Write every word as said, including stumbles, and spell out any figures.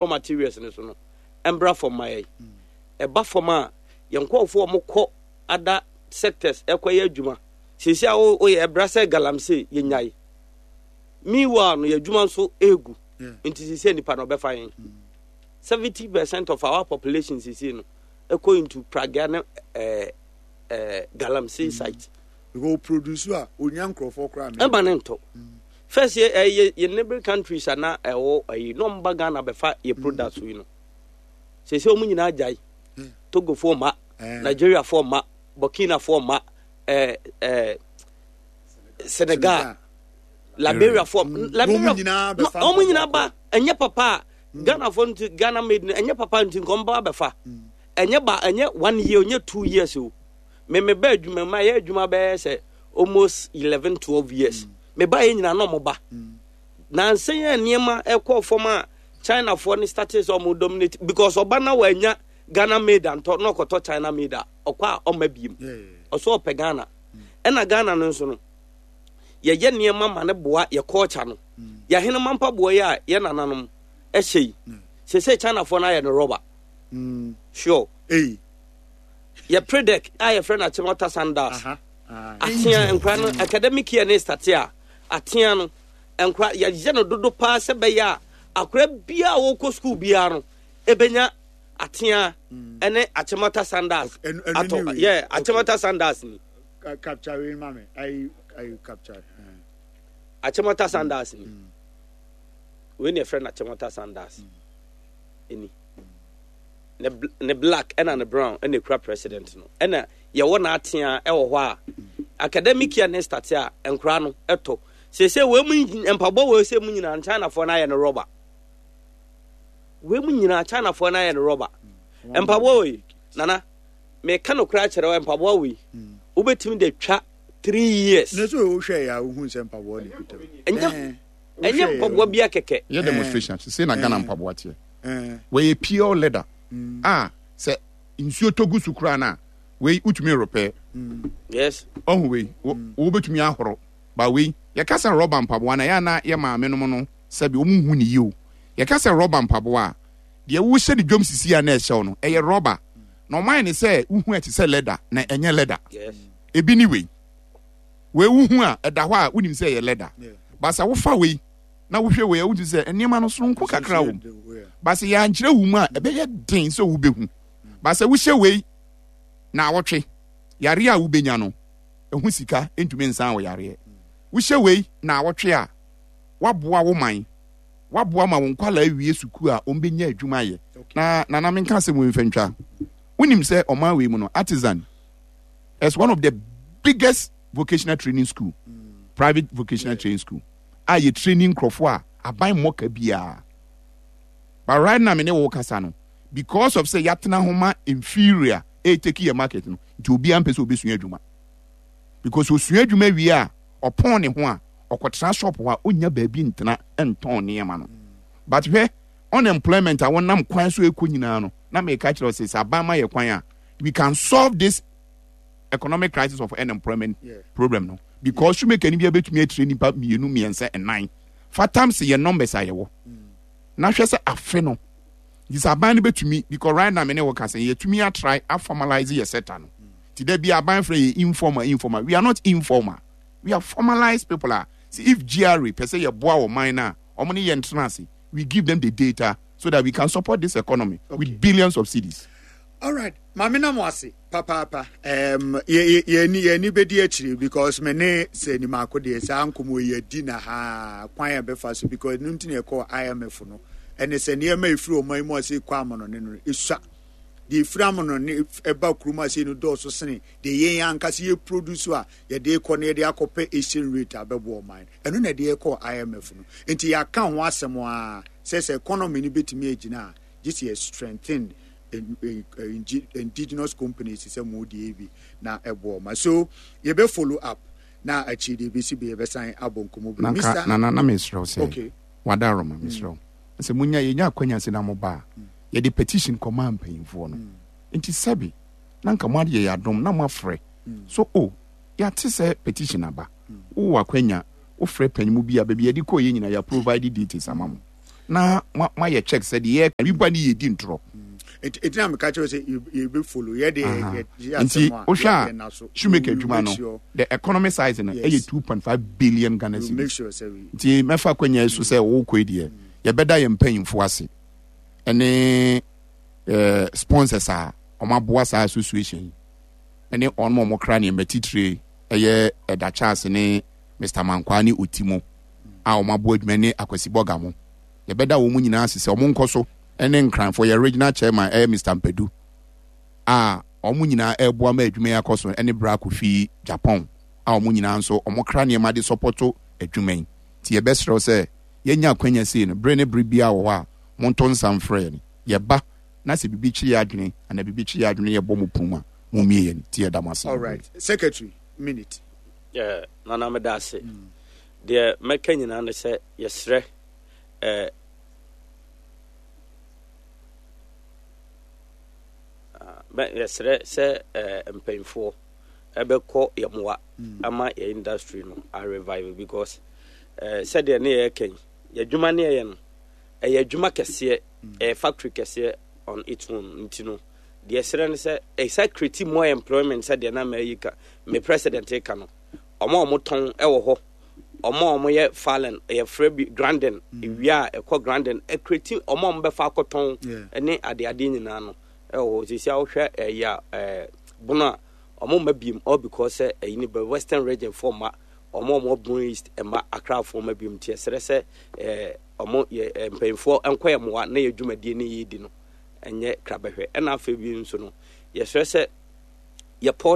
Raw materials no so no mbra fam ma yɛn. Ɛba fam a, yɛn nkurɔfoɔ a wɔkɔ other sectors ɛkɔyɛ adwuma. Seesei a woyɛ ɛbra sɛ galamsey yɛnyae. Meanwhile no yɛ adwuma nso egu. Nti seesei nipa na ɔbɛfa yɛn. Seventy percent of our population seesei no ɛkɔ into pragea ne ɛɛ ɛɛ galamsey site. Because produce a onya nkurɔfoɔ koraa. Ɛma ne ntɔ. First yɛ ɛyɛ yɛ neighboring countries a na ɛwɔ ɛyi na wɔn ba Ghana bɛfa yɛ products yi no. Sese wɔn nyinaa gyae. Togofoɔ ma, Nigeriafoɔ ma, Burkinafoɔ ma, ɛɛ ɛɛ Senegal, Liberiafoɔ, Liberia, wɔn nyinaa ba. Ɛnyɛ papa a Ghanafoɔ nti Ghana made no ɛnyɛ papa nti nkɔm ba bɛfa. Ɛnyɛ ba ɛnyɛ one year ɛnyɛ two years o. Me me ba adwuma mu ayɛ adwuma bɛyɛ sɛ almost eleven twelve years. Me ba yɛ nyinaa na ɔmo ba. Nansa yi a nneɛma ɛkɔɔ fam a Chinafoɔ no started sɛ ɔmo dominate because ɔba na wanya Ghana made antɔ na ɔkɔtɔ China made a ɔkɔ a ɔma biem. Ɔso ɔpɛ Ghana. Ɛna Ghana no nso no yɛyɛ nneɛma ma ne boa yɛ culture no. Yɛ ahenema mpaboa yi a yɛ nananom ɛhyɛ yi. Sese Chinafoɔ no ayɛ no rɔba. Sure. Hey. Yɛ predec a yɛfrɛ no Achimota Sandals. Atea nkora no academic year ne starte a atea no nkora yɛyɛ no dodo paa sɛ bɛyɛ a akora biara a wɔkɔ school biara no ɛbɛnya atea ɛne Achimota Sandals atɔ yɛ Achimota Sandals ni. Capture wei ma me ayi ayi capture. Achimota Sandals ni. Wei na yɛfrɛ no Achimota Sandals. Ɛni. Ne ne black ɛna ne brown ɛna ekura president no ɛna yɛwɔ n'atea ɛwɔ hɔ a academic year ne start a nkora no ɛtɔ sese wei mu mpaboa wei sɛ mu nyinaa Chinafoɔ no ayɛ no rɔba wei mu nyinaa Chinafoɔ no ayɛ no rɔba mpaboa wei nana meka no koraa kyerɛ mpaboa wei wobɛtumi de twa three years. Ne so wohwɛ yɛ a wohu sɛ mpaboa ne kuta ɛnyɛ ɛnyɛ mpaboa bi akɛkɛ. Yɛ demonstration sese na Ghana mpaboa teɛ wɔyɛ pure leather a sɛ nsuo tɔ gu so koraa no a wei wotumi repair. Yes. Ɔho wei wobɛtumi ahoro ba wei yɛka sɛ rɔba mpaboa na yɛ ana yɛ maame nom no sɛbi wɔn hu ne yie o. Yɛka sɛ rɔba mpaboa a deɛ wohyɛ ne dwom sisi a na ɛhyɛw no ɛyɛ rɔba na ɔman ne sɛ wohu ɛte sɛ leather na ɛnyɛ leather. Yes. Ebi ne wei wei wohu a ɛda hɔ a wonim sɛ ɛyɛ leather basa wofa wei na wohwɛ wei a wotu sɛ nneɛma no soronko kakra wɔ mu basa yɛankyerɛ wo mu a ɛbɛyɛ den sɛ wobɛhu basa wohyɛ wei na awɔtwe yareɛ a wobɛnya no ɛho sika ntumi nsan wɔ yareɛ wohyɛ wei na awɔtwe a waboa wo man waboa ma wo nkwalaa awie sukuu a wɔn bɛnya adwuma ayɛ na nana menka asɛm wei mfa ntwa wonim sɛ ɔman wei mu no artisan is one of the biggest vocational training school private vocational yeah. training school a yɛ training nkurɔfoɔ a aban mmɔka biara but right now me ne wo kasa no because of sɛ yɛatena ho ma inferior ɛtake yɛ market no nti obiara mpɛ sɛ obɛsua adwuma because osua adwuma wie a ɔpɔn ne ho a ɔkɔtena shop hɔ a ɔnya baabi ntena ntɔn nneɛma no but hwɛ unemployment a wɔnam kwan so ekɔ nyinaa no na meka kyerɛ sɛ sɛ aban ma yɛ kwan a we can solve this economic crisis of unemployment yeah. problem no because shoemaker ni bi abɛtumi atire nipa mmienu mmiɛnsa ɛnan fa times yɛ numbers a yɛwɔ na hwɛ sɛ afe no nti sɛ aban no bɛtumi because right now me ne wɔ ka sɛ yɛtumi atry aformalize yɛ sector no nti da bi aban frɛ yɛ informal informal we are not informal we are formalized people a see if GRA pɛ sɛ yɛboa wɔ man no a ɔmo ne yɛn tena ase we give them the data so that we can support this economy okay. with billions of cedis. all right maame na mo ase papaapa um, yɛni yɛni bɛdi akyire because me ne sɛ nimaako deɛ saa nkɔmmɔ yi adi na ha kwan a bɛfa so because no nti na yɛkɔ IMF no ɛne sɛ nneɛma ɛfiri ɔman yi mu ase kɔ amanɔne no ɛsua deɛ ɛfiri amanɔne ɛba kurom ase no dɔɔso sene deɛ yɛn ankasa yɛ produce a yɛde kɔ no yɛde akɔpɛ exchange rate a bɛboa ɔman ɛno na yɛde kɔ IMF no nti yɛaka ho asɛm a sɛ sɛ economy no bɛtumi agyina a gye sɛ yɛ strengthen indigenous companies sɛ mo deɛ bi na ɛboɔ ma so yɛbɛ follow up na akyiri deɛ bɛsi bi yɛbɛsan abɔ nkɔmmɔ bi nanka nana na mesrɛ wo sɛ okay. wada roma mesrɛ wo sɛ monya yɛnya akwanya sɛ na moba a yɛde petition kɔmaa mpanyimfoɔ no nti sɛbe na nka mo adeɛ yɛ adom na moafrɛ so o yɛate sɛ petition aba wowɔ akwanya wofrɛ panyimu bi a baabi yɛde kɔɔ yɛ nyina yɛ provide details ama mo Na moayɛ check sɛ deɛ yɛka bi ne yɛdi ntorɔ. Ɛti na meka kyerɛ sɛ yɛbɛ follow yɛde. Nti wohwɛ a, shoemaker adwuma no, the economy size no ɛyɛ two point five billion Ghana cedis. Nti mɛfa akɔnya yi so sɛ wokɔ yi deɛ, yɛbɛda yɛn mpanyimfo ase ɛne eh, sponsors a wɔn aboa saa association yi, ɛne wɔn a wɔn kra nneɛma titire, ɛyɛ Ɛda Charles ne Mister Mankwaa ne Otimo a wɔn aboa adwuma, ne Akwasi Bɔga mo. Yɛbɛda wɔn nyinaa ase sɛ wɔn nkɔ so, ɛne Nkranfo yɛ regional chairman, ɛyɛ Mister Mpadu, a wɔn nyinaa ɛreboa ma adwuma yi akɔ so, ɛne Bra Kofi Japan a wɔn nyinaa nso wɔn kra nneɛma de support adwuma yi. Nti yɛbɛsrɛw sɛ yɛnya akwanya sei no, bere ne bere biara wɔ hɔ a, monto nsa mfrɛ yɛn. Yɛba na sɛ biribi kye yɛ adwene anaa biribi kye yɛ adwene, yɛbɔ mo pum a, mommie yɛn. Nti yɛda mo ase. All right, secretary, minute. Yeah, Nana, meda ase. Deɛ mɛka nyinaa ne sɛ yɛsrɛ eh, yɛsrɛ sɛ eh, mpanyinfoɔ ɛbɛkɔ yɛ mmoa ama yɛ industry no a revive, because eh, sɛdeɛ ne yɛyɛ yi, yɛ adwuma ne yɛyɛ no, ɛyɛ adwuma kɛseɛ, ɛyɛ factory kɛseɛ on its own. Nti no deɛ ɛsrɛ no sɛ ɛsɛ create more employment, sɛdeɛ na mɛyi ka me president ka no, ɔmo a ɔmo tɔn ɛwɔ hɔ, ɔmo a ɔmo yɛ fallen, yɛfrɛ bi grinding, ewia a ɛkɔ grinding, ɛ create ɔmo a ɔmo bɛfa akɔtɔn ɛne adeade nyinaa no ɛwɔ hɔ. Sisi a wohwɛ ɛyɛ a ɛɛ Bono a, ɔmo mma biem, all because sɛ ɛyi ne bɛ Western Region fo ma ɔmo a ɔmo Bono East ɛma Accra fo ma biem. Nti ɛsrɛ sɛ ɛɛ ɔmo yɛ ɛ mpanyinfoɔ nkɔ yɛ mmoa na yɛ dwumadie ne yɛ di no ɛnyɛ krabɛhwɛ. Ɛna afei bi nso no, yɛsrɛ sɛ yɛ port